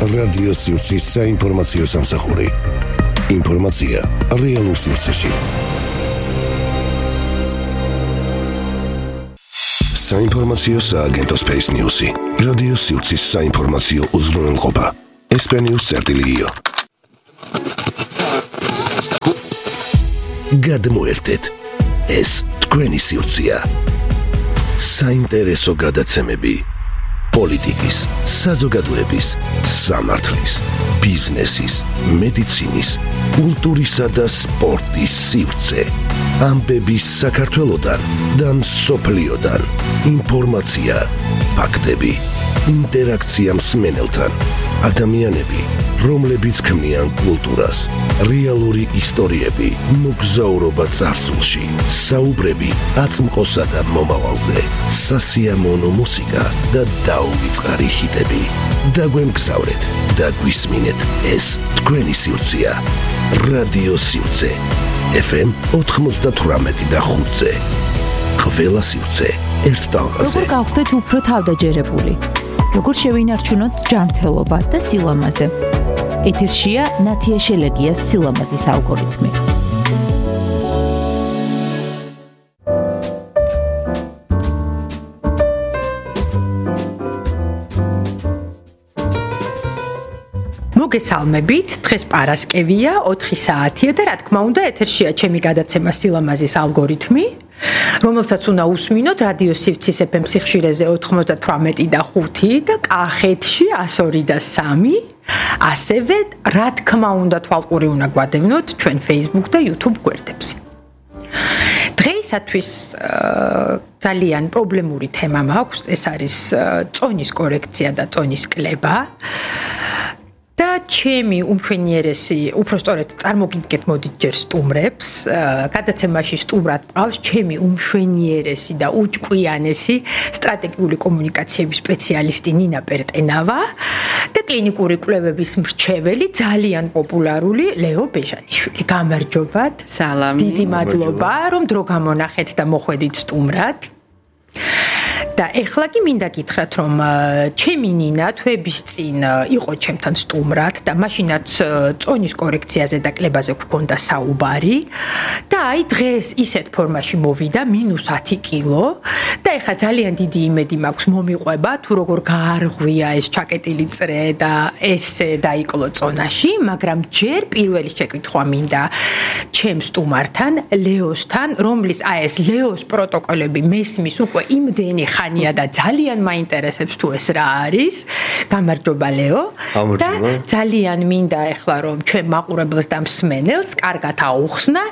რადიო სივრცის საინფორმაციო სამსახური. ინფორმაცია რეალურ სივრცეში. საინფორმაციო სააგენტო Space News-ი. რადიო სივრცის საინფორმაციო უზრუნველყოფა. SP-News.io. გადმოერთეთ. ეს თქვენი სივრცეა. საინტერესო გადაცემები. პოლიტიკის, საზოგადოების, სამართლის, ბიზნესის, მედიცინის, კულტურისა და სპორტის სივრცე. ამბები საქართველოდან და მსოფლიოდან. ინფორმაცია, ფაქტები, ინტერაქცია მსმენელთან. ადამიანები, რომლებიც ქმნიან კულტურას, რეალური ისტორიები, მოგზაურობა წარსულში, საუბრები აწმყოსა და მომავალზე, სასიამოვნო მუსიკა და დაუვიწყარი ჰიტები. დაგვემგზავრეთ და გვისმინეთ, ეს თქვენი სივრცეა. რადიო სივრცე. FM 98.5-ზე. ყველა სივრცე ერთ ტალღაზე. როგორ გავხდეთ უფრო თავდაჯერებული? როგორ შევინარჩუნოთ ჯანმრთელობა და სილამაზე? ეთერშია ნათია შელეგიას სილამაზის ალგორითმი. მოგესალმებით, დღეს პარასკევია, 4 საათია და რა თქმა უნდა ეთერშია ჩემი გადაცემა სილამაზის ალგორითმი, რომელსაც უნდა უსმინოთ რადიო სივრცის FM სიხშირეზე 98.5 და კახეთში 102.3. ასევე რა თქმა უნდა თვალყური უნდა გვადევნოთ ჩვენ Facebook და YouTube გვერდებზე. დღეისათვის ძალიან პრობლემური თემა მაქვს, ეს არის წონის კორექცია და წონის კლება. და ჩემი უმშვენიერესი, უпростоრეთ წარმოგიდგეთ მოდით ჯერ სტუმრებს, გადაცემაში სტუმრად მყავს ჩემი უმშვენიერესი და უჭკვიანესი სტრატეგიული კომუნიკაციების სპეციალისტი ნინა პერტენავა და კლინიკური კვლევების მრჩეველი, ძალიან პოპულარული ლეო ბეჟანიშვილი. გამარჯობათ. სალამი. დიდი მადლობა, რომ დრო გამონახეთ და მოხვედით სტუმრად. და ეხლა კი მინდა გითხრათ, რომ ჩემი ნინა თვეების წინ იყო ჩემთან სტუმრად და მაშინაც წონის კორექციაზე და კლებაზე გვქონდა საუბარი და აი დღეს ისეთ ფორმაში მოვიდა -10 კილო და ეხლა ძალიან დიდი იმედი მაქვს მომიყვება თუ როგორ გაარღვია ეს ჩაკეტილი წრე და ესე დაიკლო წონაში, მაგრამ ჯერ პირველი შეკითხვა მინდა ჩემ სტუმართან, ლეოსთან, რომლის აი ეს ლეოს პროტოკოლები მესმის უკვე იმდენი ხანია და ძალიან მაინტერესებს თუ ეს რა არის. გამარჯობა ლეო. და ძალიან მინდა ეხლა რომ ჩვენ მაყურებელს და მსმენელს კარგად აუხსნა,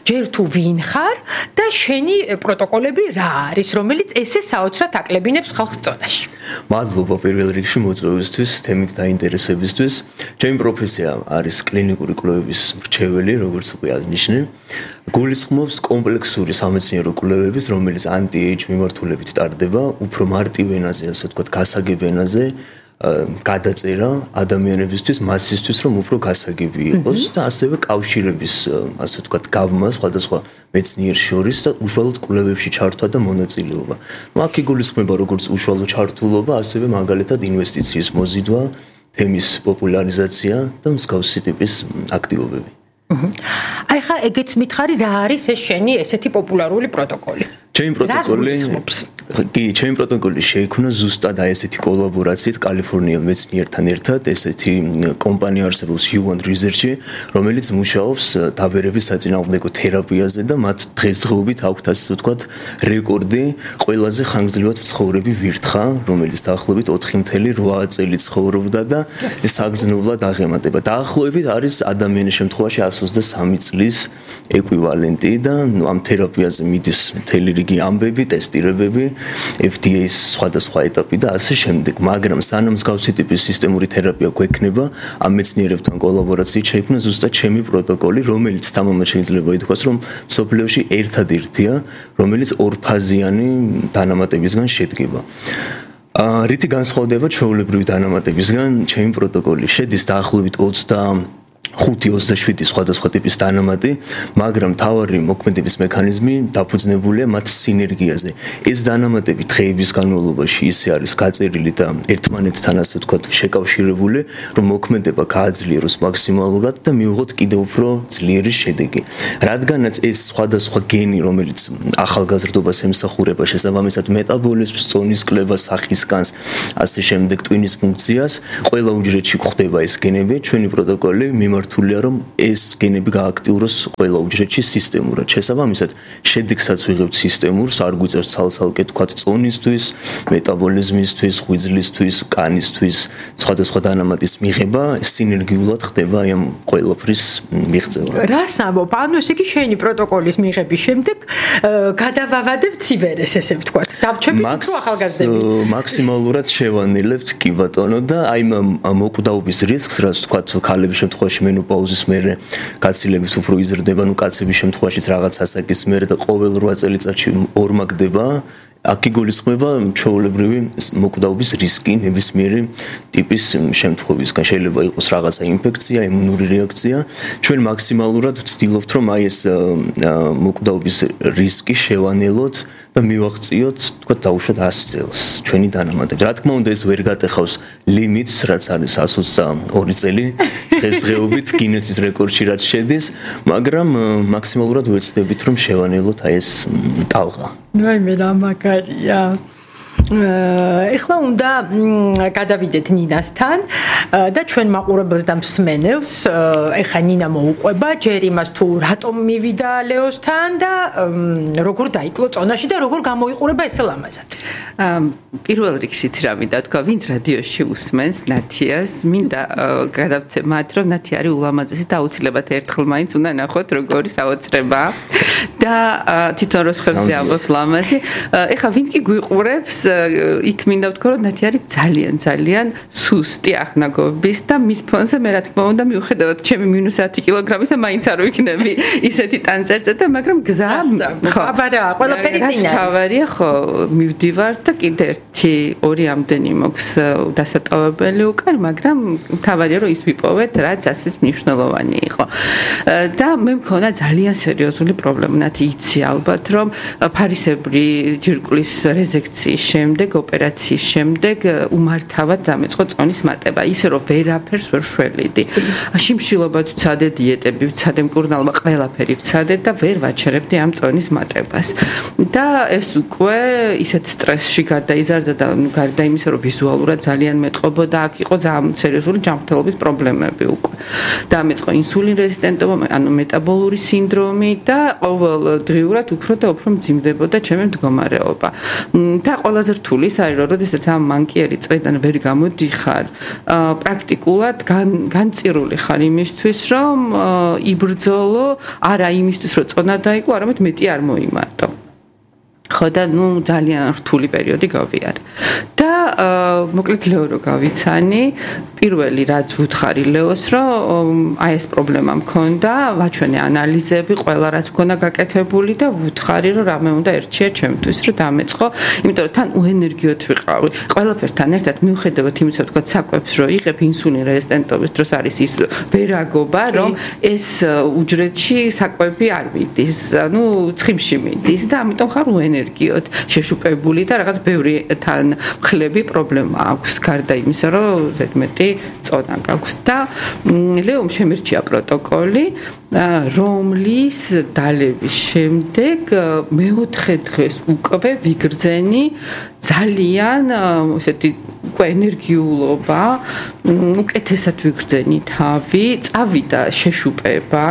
ჯერ თუ ვინ ხარ და შენი პროტოკოლები რა არის, რომელიც ესე საოცრად აკლებინებს ხალხს წონაში. მადლობა პირველ რიგში მოწვევისთვის, თემით დაინტერესებისთვის. ჩემი პროფესია არის კლინიკური კვლევების მრჩეველი, როგორც უკვე აღნიშნე. გულისხმობს კომპლექსური სამეცნიერო კვლევების, რომელიც anti-age მიმართულებით ტარდება, უფრო მარტივ ენაზე, ასე ვთქვათ, გასაგებ ენაზე, გადაწერა ადამიანებისთვის, მასისთვის, რომ უფრო გასაგები იყოს და ასევე კავშირების, ასე ვთქვათ, გავმა სხვადასხვა მეცნიერს შორის და უშუალოდ კვლევებში ჩართვა და მონაწილეობა. აქ იგულისხმება როგორც უშუალო ჩართულობა, ასევე მაგალითად ინვესტიციის მოზიდვა, თემის პოპულარიზაცია და მსგავსი ტიპის აქტივობები. აი ხა ეგეც მითხარი რა არის ეს შენი ესეთი პოპულარული პროტოკოლი? ჩემი პროტოკოლი შეიქმნა ზუსტად აი ესეთი კოლაბორაციით კალიფორნიელ მეცნიერთან ერთად, ესეთი კომპანია არსებობს Human Research-ი, რომელიც მუშაობს დაბერების საწინააღმდეგო თერაპიაზე და მათ დღესდღეობით აქვთ ასე ვთქვათ რეკორდი ყველაზე ხანგრძლივად მცხოვრები ვირთხა, რომელიც დაახლოებით 4.8 წელი ცხოვრობდა და საგრძნობლად აღემატება. დაახლოებით არის ადამიანის შემთხვევაში 123 წლის ეკვივალენტი და ამ თერაპიაზე მიდის მთელი რიგი ამბები, ტესტირებები, FDA-ის სხვადასხვა ეტაპი და ასე შემდეგ. მაგრამ სანამ მსგავსი ტიპის სისტემური თერაპია გვექნება, ამ მეცნიერებთან კოლაბორაციით შეიქმნა ზუსტად ჩემი პროტოკოლი, რომელიც თამამად შეიძლება ითქვას, რომ მსოფლიოში ერთადერთია, რომელიც ორფაზიანი დანამატებისგან შედგება. რითი განსხვავდება ჩვეულებრივი დანამატებისგან, ჩემი პროტოკოლი შედის დაახლოებით 5-27 სხვადასხვა ტიპის დანამატი, მაგრამ თავარი მოქმედების მექანიზმი დაფუძნებულია მათ სინერგიაზე. ეს დანამატები დღეების განმავლობაში ისე არის გაწერილი და ერთმანეთთან ასე ვთქვათ შეკავშირებული, რომ მოქმედება გააძლიეროს მაქსიმალურად და მიიღოთ კიდევ უფრო ძლიერი შედეგი. რადგანაც ეს სხვადასხვა გენი, რომელიც ახალგაზრდობას ემსახურება, შესაბამისად მეტაბოლიზმს, წონის კლებას, სახის განს, ასე შემდეგ ტვინის ფუნქციას, ყველა უჯრედში გვხდება ეს გენები, ჩვენი პროტოკოლი მიმართულია რომ ეს გენები გააქტიუროს ყველა უჯრედში სისტემურად. შესაბამისად, შედეგსაც ვიღებთ სისტემურს, არ გვიწევს ცალ-ცალკე თქვათ წონისთვის, მეტაბოლიზმისთვის, ღვიძლისთვის, კანისთვის, სხვადასხვა დანამატის მიღება სინერგიულად ხდება ამ ყველაფრის მიღწევა. რას ამბობ? ანუ ესე იგი შენი პროტოკოლის მიღების შემდეგ გადავავადებთ ციბერეს, ესე ვთქვათ. დავჩებით უფრო ახალგაზრდები. მაქსიმალურად შევანილებთ კი ბატონო და აი მოკვდაობის რისკს, რაც თქვათ ქალების შემთხვევაში მენოპაუზის მერე გაცილებით უფრო იზრდება, ну კაცების შემთხვევაშიც რაღაც ასაკის მერე და ყოველ 8 წელიწადში ორმაგდება. აქ იგულისხმება ჩვეულებრივი მოკვდაობის რისკი ნებისმიერი ტიპის შემთხვევისგან. შეიძლება იყოს რაღაცა ინფექცია, იმუნური რეაქცია. ჩვენ მაქსიმალურად ვცდილობთ, რომ აი ეს მოკვდაობის რისკი შევანელოთ და მივაღწიოთ, თქვა დაუშვათ 100 წელს ჩვენი დანამატები. რა თქმა უნდა, ეს ვერ გატეხავს ლიმიტს, რაც არის 122 წელი დღესდღეობით გინესის რეკორდში რაც შედის, მაგრამ მაქსიმალურად ვეცდებით, რომ შევანელოთ აი ეს ტალღა. ნუ მე რა მაგარია. ეხლა უნდა გადავიდეთ ნინასთან და ჩვენ მაყურებელს და მსმენელს ეხლა ნინა მოუყვება ჯერ იმას თუ რატომ მივიდა ლეოსთან და როგორ დაიკლო წონაში და როგორ გამოიყურება ესე ლამაზად. პირველ რიგში რა მინდა თქვა, ვინც რადიოში უსმენს ნათიას, მინდა გადავცე მათ, რომ ნათი არის ულამაზესი და აუცილებლად ერთხელ მაინც უნდა ნახოთ როგორი საოცრება და თვითონ როსხებზე ამბობს ლამაზი. ეხლა ვინც კი გვიყურებს იქ მინდა ვთქვა, რომ ნათი არის ძალიან სუსტი აღნაგობის და მის ფონზე მე რა თქმა უნდა მიუხედავად ჩემი -10 კილოგრამისა მაინც არ ვიქნები ისეთი ტანწერწეტა, მაგრამ გზა ხო, აბარა, ყველაფერი წინა. თავარია ხო, მივდივარ და კიდე 1-2 ამდენი მოქვს დასატოვებელი უკან, მაგრამ თავარია რომ ის ვიპოვეთ, რაც ასეთ მნიშვნელოვანი იყო. და მე მქონა ძალიან სერიოზული პრობლემა, ნათი იცი ალბათ, რომ ფარისებრი ჯირკვლის რეზექციის შემდეგ, ოპერაციის შემდეგ უმართავად დამეწყო წონის მატება, ისე რომ ვერაფერს ვერ შველიდი. შიმშილობა ვცადე, დიეტები ვცადე, მკურნალობა ყველაფერი ვცადე და ვერ ვაჩერებდი ამ წონის მატებას. და ეს უკვე ისეთ სტრესში გადაიზარდა და გარდა იმისა, რომ ვიზუალურად ძალიან მეტყობოდა, აქ იყო ძალიან სერიოზული ჯანმრთელობის პრობლემები უკვე. დამეწყო ინსულინ რეზისტენტობა, ანუ მეტაბოლური სინდრომი და ყოველდღიურად უფრო და უფრო მძიმდებოდა ჩემი მდგომარეობა. და ყველაზე რთული ის არის, რომ როდესაც ამ მანკიერი წრედან ვერ გამოდიხარ, პრაქტიკულად განწირული ხარ იმისთვის, რომ იბრძოლო, არა იმისთვის, რომ წონა დაიკლო, არამედ მეტი არ მოიმატო. ხო და ნუ ძალიან რთული პერიოდი გავიარე. და მოკლედ ლეო რო გავიცანი, პირველი რაც ვუთხარი ლეოს, რომ აი ეს პრობლემა მქონდა, ვაჩვენე ანალიზები, ყველა რაც მქონდა გაკეთებული და ვუთხარი, რომ რამე უნდა ერჩია ჩემთვის, რომ დამეწყო, იმიტომ რომ თან უენერგიოთ ვიყავი. ყველაფერთან ერთად მიუხედავად იმისა, ვთქვათ, საკვებს რო იღებ ინსულინ რეზისტენტობის დროს არის ის ვერაგობა, რომ ეს უჯრედში საკვები არ მიდის, ანუ ცხიმში მიდის და ამიტომ ხარ უენერგიოთ შეშუპებული და რაღაც ბევრი თან მხლები პრობლემა აქვს, გარდა იმისა, რომ ზედმეტი წონა გაქვს და ლეომ შემირჩია პროტოკოლი, რომლის დალევის შემდეგ მეოთხე დღეს უკვე ვიგრძენი ძალიან ესეთი უკვე ენერგიულობა, უკეთესად ვიგრძენი თავი, წავიდა შეშუპება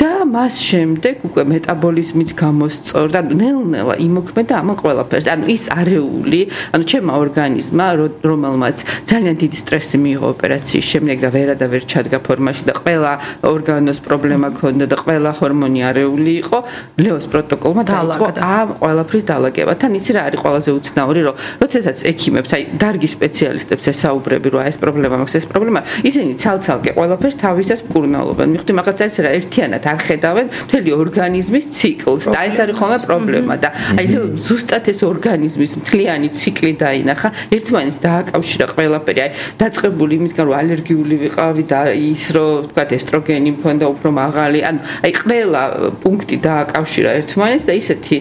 და მას შემდეგ უკვე მეტაბოლიზმიც გამოსწორდა, ნელ-ნელა იმოქმედა ამ ყველაფერს. ანუ ის არეული, ანუ ჩემმა ორგანიზმმა, რომელმაც ძალიან დიდი სტრესი მიიღო ოპერაციის შემდეგ და ვერ ჩადგა ფორმაში და ყველა ორგანოს პრობლემა ჰქონდა და ყველა ჰორმონი არეული იყო, ლეოს პროტოკოლმა დაიწყო ამ ყველაფრის დალაგება. თან იცი რა არის ყველაზე უცნაური, რომ როდესაც ექიმებს, აი დარგი სპეციალისტებს ესაუბრები, რომ ეს პრობლემა მაქვს, ეს პრობლემა, ისინი ცალ-ცალკე ყველაფერს თავისას მკურნალობენ. მიხდი მაგაც არის რა ერთიანად არ ხედავენ მთელი ორგანიზმის ციკლს და ეს არის ხოლმე პრობლემა და აი ზუსტად ეს ორგანიზმის მთლიანი ციკლი დაინახა ერთმანეთს დააკავშირა ყველაფერი აი დაწყებული იმისგან რომ ალერგიული ვიყავი და ის რომ თქვა ესტროგენი მქონდა უფრო მაღალი ან აი ყველა პუნქტი დააკავშირა ერთმანეთს და ისეთი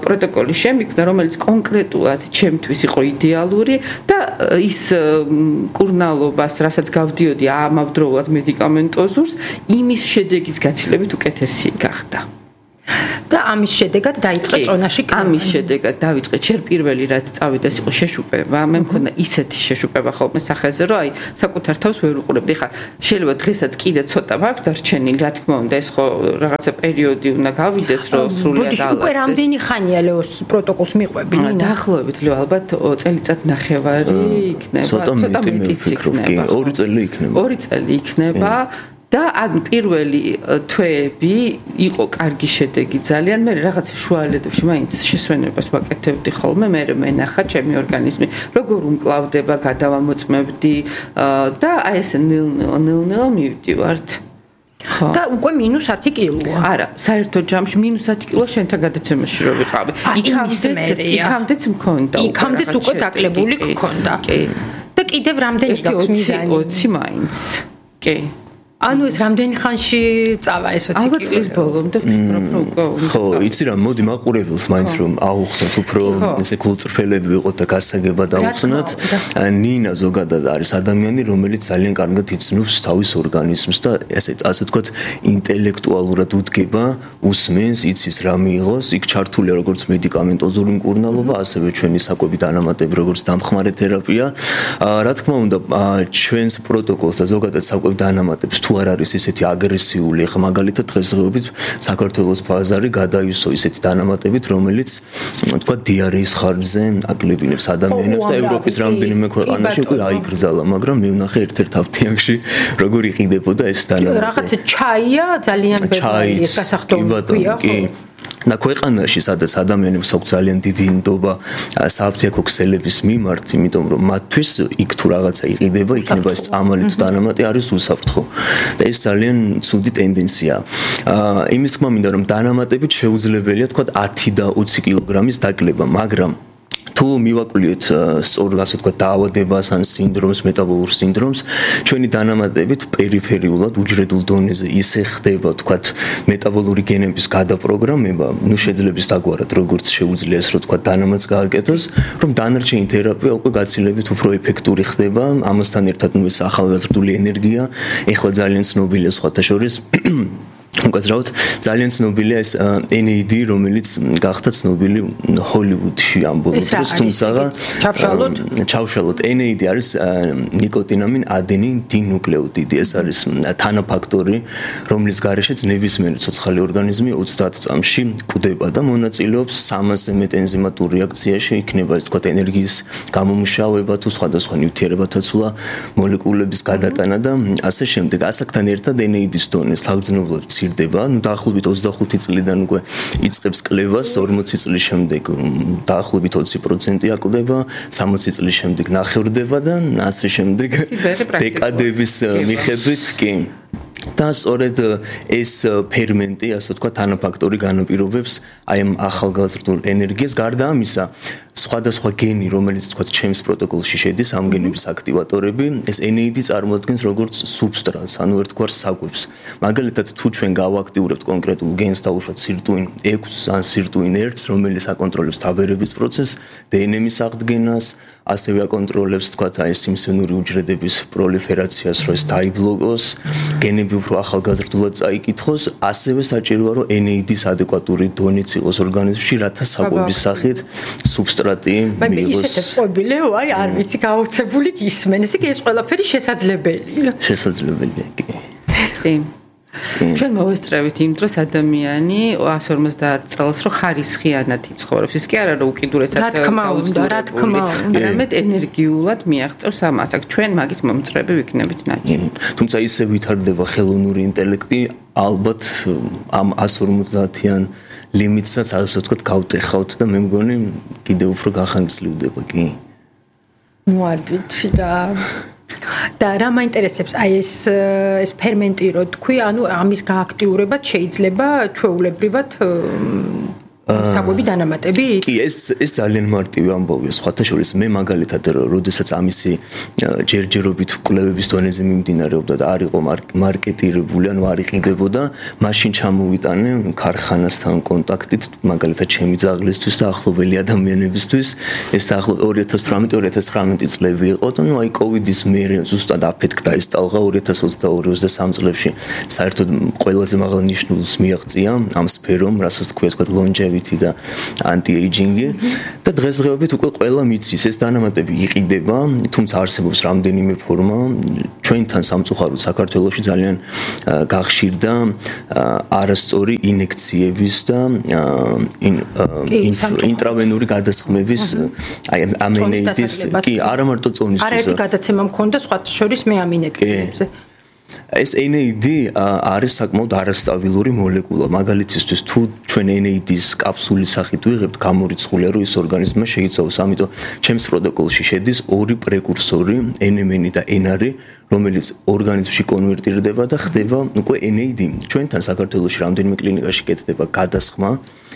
პროტოკოლი შემიქმნა რომელიც კონკრეტულად ჩემთვის იყო იდეალური და ის კურნალობას რასაც გავდიოდი ამავდროულად მედიკამენტოზურს იმის შედეგის გაცილებით უკეთესი გახდა და ამის შედეგად დაიწყე წონაში ამის შედეგად დავიწყე ჯერ პირველი რაც წავიდა ეს იყო შეშუპება მე მქონდა ისეთი შეშუპება ხოლმე სახეზე რომ აი საკუთარ თავს ვერ უყურებდი ხა შეიძლება დღესაც კიდე ცოტა მაქვს დარჩენილი რა თქმა უნდა ეს ხო რაღაცა პერიოდი უნდა გავიდეს რომ სრულად დაალაგდეს უკვე რამდენი ხანია ლეოს პროტოკოლს მიყვები ნინა დაახლოებით ლეო ალბათ წელიწად ნახევარი იქნება ცოტა მეტიც იქნება 2 წელი იქნება და ან პირველი თვეები იყო კარგი შედეგი ძალიან მე რაღაც შუალედებში მაინც შესვენებას ვაკეთებდი ხოლმე მე მენახა ჩემი ორგანიზმი როგორ უმკლავდება გადავამოწმებდი და აი ეს ნელ-ნელა მივდივართ და უკვე -10 კილოა. არა, საერთოდ ჯამში -10 კილო შენთან გადაცემაში რო ვიყავი. იქამდეც მქონდა. იქამდეც უკვე დაკლებული მქონდა. კი. და კიდევ რამდენი გაქვს მიზანი? 20 მაინც. კი. ანუ ეს რამდენი ხანში წავა ეს 20 კილო? ალბათ წლის ბოლომდე ვფიქრობ რომ უკვე ხო, იცი რა, მოდი მაყურებელს მაინც რომ აუხსნათ უფრო ესე გულწრფელები ვიყოთ და გასაგებად აუხსნათ. ნინა ზოგადად არის ადამიანი, რომელიც ძალიან კარგად იცნობს თავის ორგანიზმს და ასე ვთქვათ, ინტელექტუალურად უდგება, უსმენს, იცის რა მიიღოს, იქ ჩართულია როგორც მედიკამენტოზური მკურნალობა, ასევე ჩვენი საკვები დანამატები, როგორც დამხმარე თერაპია. რა თქმა უნდა, ჩვენს პროტოკოლს და ზოგადად საკვები დანამატებს თუ არ არის ისეთი აგრესიული, ხა მაგალითად დღესდღეობით საქართველოს ბაზარი გადაივსო ისეთი დანამატებით, რომელიც თქვა დიარეის ხარჯზე აკლებინებს ადამიანებს და ევროპის რამდენიმე ქვეყანაში უკვე აიგრძალა, მაგრამ მე ვნახე ერთ-ერთ აფთიაქში როგორ იყიდებოდა ეს დანამატი. რაღაცა ჩაია ძალიან ბევრი ეს გასახდომია ხო? და ქვეყანაში სადაც ადამიანებს აქვს ძალიან დიდი ნდობა სააფთიაქო ქსელების მიმართ, იმიტომ რომ მათთვის იქ თუ რაღაცა იყიდება, იქნება ეს წამალი თუ დანამატი არის უსაფრთხო. და ეს ძალიან ცუდი ტენდენციაა. იმის თქმა მინდა რომ დანამატებით შეუძლებელია თქვა 10 და 20 კილოგრამის დაკლება, მაგრამ თუ მივაკვლიოთ სწორად ასე თქვა დაავადებას ან სინდრომს, მეტაბოლურ სინდრომს, ჩვენი დანამატებით პერიფერიულად უჯრედულ დონეზე ისე ხდება თქვა მეტაბოლური გენების გადაპროგრამება, ნუ შეძლებს დაგვარად როგორც შეუძლია ეს რო თქვა დანამატს გააკეთოს, რომ დანარჩენი თერაპია უკვე გაცილებით უფრო ეფექტური ხდება, ამასთან ერთად ნუ ეს ახალგაზრდული ენერგია, ეხლა ძალიან ცნობილია სხვათა შორის უკაცრავად ძალიან ცნობილია ეს NAD, რომელიც გახდა ცნობილი ჰოლივუდში ამ ბოლო დროს, თუმცა ჩავშალოთ NAD არის ნიკოტინამინ ადენინ დინუკლეოტიდი, ეს არის თანაფაქტორი, რომლის გარეშეც ნებისმიერი ცოცხალი ორგანიზმი 30 წამში კვდება და მონაწილეობს 300-ზე მეტ ენზიმატურ რეაქციაში, იქნება ეს თქვა ენერგიის გამომუშავება თუ სხვადასხვა ნივთიერებათა ცვლა, მოლეკულების გადატანა და ასე შემდეგ. ასაკთან ერთად NAD-ის დონე საგრძნობლად დება, ну დაახლოებით 25 წლიდან უკვე იწყებს კლევას, 40 წლის შემდეგ დაახლოებით 20% აკლდება, 60 წლის შემდეგ ნახევრდება და ასე შემდეგ დეკადების მიხედვით კი. და სწორედ ეს ფერმენტი, ასე ვთქვა, თანაფაქტორი განაპირობებს აი ამ ახალგაზრდულ ენერგიას. გარდა ამისა, სხვადასხვა გენი, რომელიც თქვა ჩემს პროტოკოლში შედის, ამ გენების აქტივატორები, ეს NAD წარმოადგენს როგორც სუბსტრატს, ანუ ერთგვარ საკვებს. მაგალითად, თუ ჩვენ გავაქტიურებთ კონკრეტულ გენს დაუშვათ სირტუინ 6 ან სირტუინ 1-ს, რომელიც აკონტროლებს თაბერების პროცესს, დნმ-ის აღდგენას, ასევე აკონტროლებს თქვა ეს სიმსივნური უჯრედების პროლიფერაციას, რომ ეს დაიბლოკოს, გენები უფრო ახალგაზრდულად წაიკითხოს, ასევე საჭიროა რომ NAD-ის ადეკვატური დონეც იყოს ორგანიზმში, რათა საკვების სახით სუბსტრატი მიიღოს. ისეთი ყვებილეო, აი არ ვიცი გაუცებული გისმენ, ესე იგი ეს ყველაფერი შესაძლებელია. შესაძლებელია, კი. კი. ჩვენ მოვესწრებით იმ დროს ადამიანი 150 წელს რო ხარისხიანად იცხოვრობს. ის კი არა რომ უკიდურესად რა თქმა უნდა, არამედ ენერგიულად მიაღწევს ამას. აქ ჩვენ მაგის მომწრები ვიქნებით ნაჩვენად. თუმცა ისე ვითარდება ხელოვნური ინტელექტი, ალბათ ამ 150-იან ლიმიტსაც ასე ვთქვათ გავტეხავთ და მე მგონი კიდევ უფრო გახანგრძლივდება კი. ნუ არ ვიცი რა. და რა მაინტერესებს აი ეს ფერმენტი რო თქვი, ანუ ამის გააქტიურებად შეიძლება ჩვეულებრივად საკვები დანამატები? კი, ეს ძალიან მარტივი ამბავია. სხვათა შორის მე მაგალითად, როდესაც ამისი ჯერჯერობით კვლევების დონეზე მიმდინარეობდა და არ იყო მარკეტირებული, ანუ არ იყიდებოდა, მაშინ ჩამოვიტანე ქარხანასთან კონტაქტით, მაგალითად ჩემი ძაღლისთვის და ახლობელი ადამიანებისთვის. ეს 2018-2019 წლები იყო და ნუ აი კოვიდის მერე ზუსტად აფეთქდა ეს ტალღა 2022-23 წლებში. საერთოდ ყველაზე მაღალ ნიშნულს მიაღწია ამ სფერომ, რასაც თქვია თქვა longevity და anti-aging-ი და დღესდღეობით უკვე ყველა მიცის ეს დანამატები იყიდება, თუმცა არსებობს რამდენიმე ფორმა. ჩვენთან სამწუხაროდ საქართველოში ძალიან გახშირდა არასწორი ინექციების და ინტრავენური გადასხმების აი ამენეიდის კი არა მარტო წონისთვის. არაერთი გადაცემა მქონდა სხვათა შორის მე ამ ინექციებზე. ეს NAD არის საკმაოდ არასტაბილური მოლეკულა. მაგალითისთვის თუ ჩვენ NAD-ის კაფსულის სახით ვიღებთ, გამორიცხულია რომ ის ორგანიზმმა შეიცვალოს. ამიტომ ჩემს პროტოკოლში შედის ორი პრეკურსორი, NMN და NR, რომელიც ორგანიზმში კონვერტირდება და ხდება უკვე NAD. ჩვენთან საქართველოში რამდენიმე კლინიკაში კეთდება გადასხმა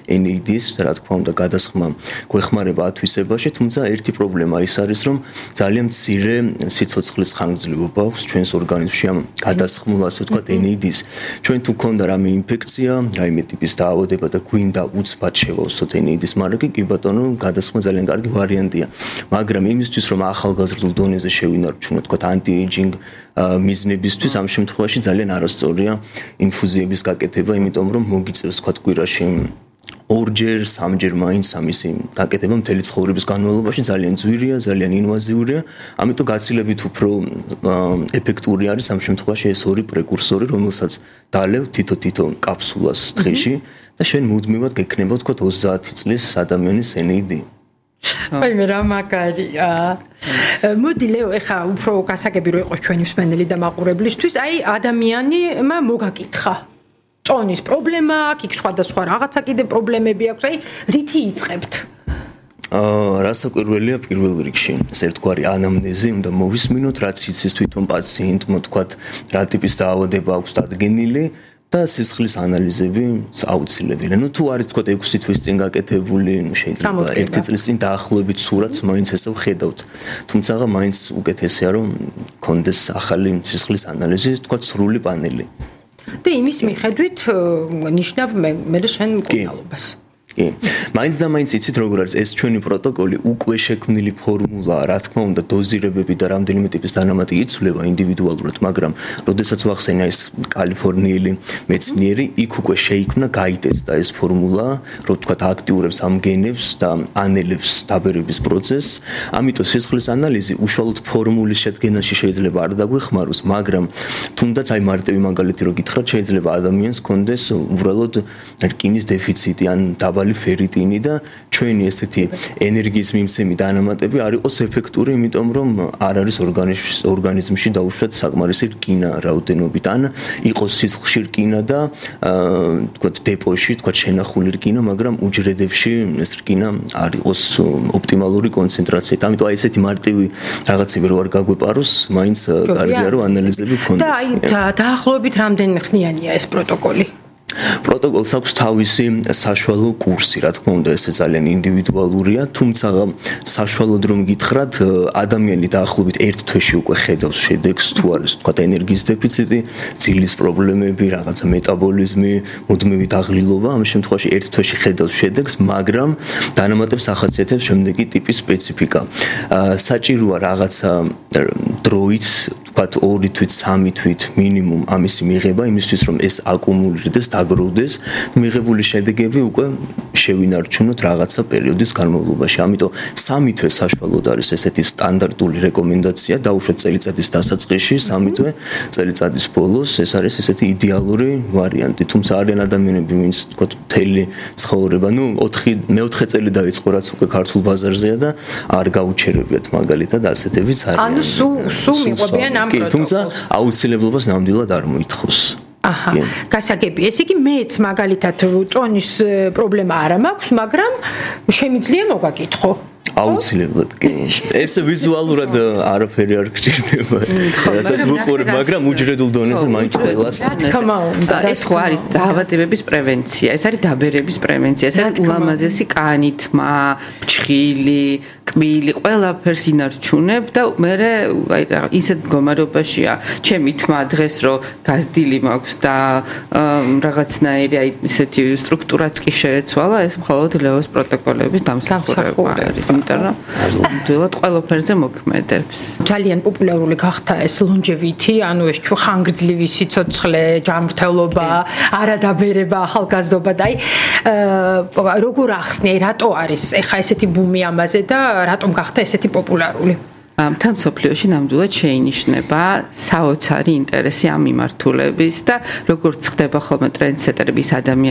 NAD-ის, რა თქმა უნდა, გადასხმა გვეხმარება ათვისებაში, თუმცა ერთი პრობლემა ის არის, რომ ძალიან მცირე სიცოცხლის ხანგრძლივობა აქვს ჩვენს ორგანიზმში ამ გადასხმულ, ასე ვთქვათ, NAD-ის. ჩვენ თუ გქონდა რამე ინფექცია, რაიმე ტიპის დაავადება და გვინდა უცბად შევავსოთ NAD-ის მარაგი, კი ბატონო, გადასხმა ძალიან კარგი ვარიანტია. მაგრამ იმისთვის, რომ ახალგაზრდულ დონეზე შევინარჩუნოთ, ვთქვათ, anti-aging მიზნებისთვის, ამ შემთხვევაში ძალიან არასწორია ინფუზიების გაკეთება, იმიტომ რომ მოგიწევს, ვთქვათ, კვირაში ორჯერ, სამჯერ მაინც ამისი გაკეთება მთელი ცხოვრების განმავლობაში ძალიან ძვირია, ძალიან ინვაზიურია, ამიტომ გაცილებით უფრო ეფექტური არის ამ შემთხვევაში ეს ორი პრეკურსორი, რომელსაც დალევ თითო კაფსულას დღეში და შენ მუდმივად გექნება, ვთქვათ, 30 წლის ადამიანის NAD. აი მე რა მაგარია. მოდი ლეო, ეხა უფრო გასაგები რო იყოს ჩვენი მსმენელი და მაყურებლისთვის, აი ადამიანმა მოგაკითხა წონის პრობლემა აქვს, იქ სხვადასხვა რაღაცა კიდე პრობლემები აქვს, აი რითი იწყებთ? რასაკვირველია პირველ რიგში, ეს ერთგვარი ანამნეზი უნდა მოვისმინოთ, რაც იცის თვითონ პაციენტმა, თქვათ, რა ტიპის დაავადება აქვს დადგენილი და სისხლის ანალიზები აუცილებელია. ნუ თუ არის თქვათ 6 თვის წინ გაკეთებული, შეიძლება 1 წლის წინ დაახლოებით სურათს მაინც ესე ვხედავთ. თუმცა მაინც უკეთესია რომ კონდეს ახალი სისხლის ανალიზი, თქვათ სრული პანელი. და იმის მიხედვით ნიშნავ მე შენ მკურნალობას. კი. მაინც და მაინც იცით როგორ არის ეს ჩვენი პროტოკოლი უკვე შექმნილი ფორმულაა, რა თქმა უნდა, დოზირებები და რამდენიმე ტიპის დანამატი იცვლება ინდივიდუალურად, მაგრამ როდესაც ვახსენე ეს კალიფორნიელი მეცნიერი, იქ უკვე შეიქმნა, გაიტესტა ეს ფორმულა, რომ თქვათ აქტიურებს ამ გენებს და ანელებს დაბერების პროცესს. ამიტომ სისხლის ანალიზი უშუალოდ ფორმულის შედგენაში შეიძლება არ დაგვეხმაროს, მაგრამ თუნდაც აი მარტივი მაგალითი რო გითხრათ, შეიძლება ადამიანს ჰქონდეს უბრალოდ რკინის დეფიციტი ან დაბალი ფერიტინი და ჩვენი ესეთი ენერგიის მიმცემი დანამატები არ იყოს ეფექტური, იმიტომ რომ არ არის ორგანიზმში დაუშვათ საკმარისი რკინა რაოდენობით, ან იყოს სისხლში რკინა და თქვათ დეპოში, თქვათ შენახული რკინა, მაგრამ უჯრედებში ეს რკინა არ იყოს ოპტიმალური კონცენტრაციით. ამიტომ აი ესეთი მარტივი რაღაცები რო არ გაგვეპაროს, მაინც კარგია რომ ანალიზები გქონდეს. და აი დაახლოებით რამდენი ხნიანია ეს პროტოკოლი? პროტოკოლს აქვს თავისი საშუალო კურსი, რა თქმა უნდა, ეს ძალიან ინდივიდუალურია, თუმცა საშუალოდ რომ გითხრათ, ადამიანი დაახლოებით 1 თვეში უკვე ხედავს შედეგს, თუ არის თქვა ენერგიის დეფიციტი, ძილის პრობლემები, რაღაცა მეტაბოლიზმი, მუდმივი დაღლილობა, ამ შემთხვევაში 1 თვეში ხედავს შედეგს, მაგრამ დანამატებს ახასიათებს შემდეგი ტიპის სპეციფიკა. საჭიროა რაღაცა დროით, თქვათ 2 თვით, 3 თვით მინიმუმ ამისი მიღება, იმისთვის რომ ეს აკუმულირდეს, დაგროვდეს, მიღებული შედეგები უკვე შევინარჩუნოთ რაღაცა პერიოდის განმავლობაში. ამიტომ 3 თვე საშუალოდ არის ესეთი სტანდარტული რეკომენდაცია, დაუშვათ წელიწადის დასაწყისში, 3 თვე წელიწადის ბოლოს, ეს არის ესეთი იდეალური ვარიანტი. თუმცა არიან ადამიანები, ვინც თქვათ მთელი ცხოვრება, ნუ 4 წელი დაიწყო, რაც უკვე ქართულ ბაზარზეა და არ გაუჩერებიათ მაგალითად ასეთებიც არიან. ანუ სულ მიყვებიან ამ პროტოკოლს. თუმცა აუცილებლობას ნამდვილად არ მოითხოვს. აჰა, გასაგები. ეს იგი მეც მაგალითად წონის პრობლემა არ მაქვს, მაგრამ შემიძლია მოგაკითხო. აუცილებლად კი. ეს ვიზუალურად არაფერი არ გჭირდება. რასაც ვუყურებ, მაგრამ უჯრედულ დონეზე მაინც ყველას. თქმა უნდა, ეს ხო არის დაავადებების პრევენცია, ეს არის დაბერების პრევენცია, ეს არის ულამაზესი კანი, თმა, ფჩხილი, კბილი, ყველაფერს ინარჩუნებ და მე ისეთ მდგომარეობაშია ჩემი თმა დღეს რომ გაზრდილი მაქვს და რაღაცნაირი აი ისეთი სტრუქტურაც კი შეეცვალა, ეს მხოლოდ ლევოს პროტოკოლების დამსახურება არის. იმიტომ რომ ნამდვილად ყველაფერზე მოქმედებს. ძალიან პოპულარული გახდა ეს ლონჯევიტი, ანუ ეს ხანგრძლივი სიცოცხლე, ჯანმრთელობა, არადაბერება, ახალგაზრდობა და აი როგორ ახსნი, რატო არის ეხა ესეთი ბუმი ამაზე და რატომ გახდა ესეთი პოპულარული? მთელ მსოფლიოში ნამდვილად შეინიშნება საოცარი ინტერესი ამ მიმართულების და როგორც ხდება ხოლმე ტრენდსეტერების ადამიანები